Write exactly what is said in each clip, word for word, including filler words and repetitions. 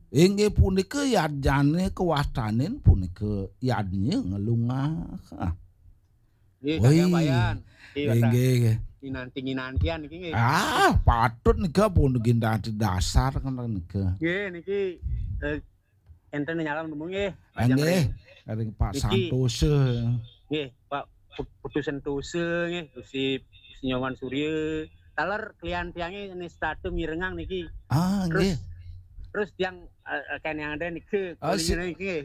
Inggih punika yadnyane kawastanin punika yadnya ngelungah. Ah. Nggih, Woi. Kakang Wayan. Nggih, Wayan. Inggih. Nginanti-nginantian niki nggih. Ah, patut nika pun ginanti dasar kan nika. Nggih, niki eh, enten nyalon nemu nggih. Lajeng Inggih, ring ring Pak Niki. Santosa. Nggih, Pak Put- Putu Sentosa nggih, Gusti Gusti Nyoman Surya. Taler kelian tiange ini statu mirengang niki. Ah, Terus nggih. terus tiang eh, eh, kan yang ada niki Ah, si- kulinya niki. Nggih.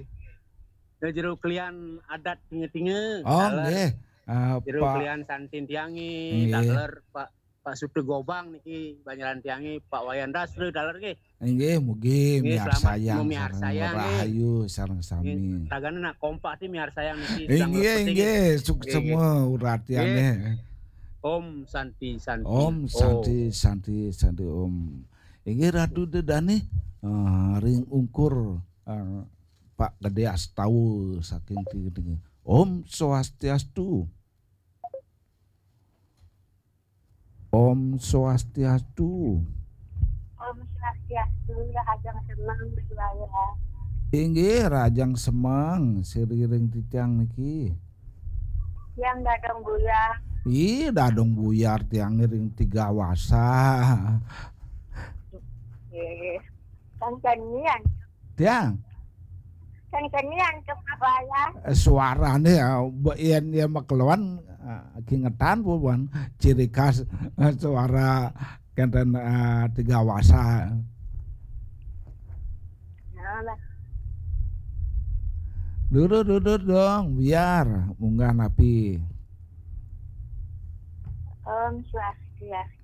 Nggih, jero kelian adat tinge-tinge. Oh, Taler nggih. Ah, jero Pak kelian santin tiange, Nggih. taler Pak Pak Sutu Gobang niki banyaran tiange, Pak Wayan Dasra taler nggih. Inggih, mugi Nggih, selamat miarsayang miarsayang, sareng nggih. rahayu sareng sami. Nggih, tagane nak kompak ti miarsayang niki sedang Inggih, berpeting. Inggih, suksema uratiane. Om Santi Santi. Om Santi Santi Santi Om. Inggih Ratu Dedane, eh, ring ungkur eh, Pak Gede Astawa saking Tinggi. Om Swastiastu. Om Swastiastu. Om Swastiastu, Rahajeng Semeng Beriwaya. Inggih Rahajeng Semeng, siriring titiang niki. Yang dadong buyar. Ih, dadong buyar tiang ring Tiga Wasa. Nggih. Kang Kenian. Tiang, Kang Kenian ke Beriwaya. eh, suarane ya, mbok yen ya makeluan eh, kingetan apa buan ciri khas eh, suara kenten eh, Tiga Wasa. Nah, lah. Durut-durut dong, biar munggah napi. Om Swastiastu.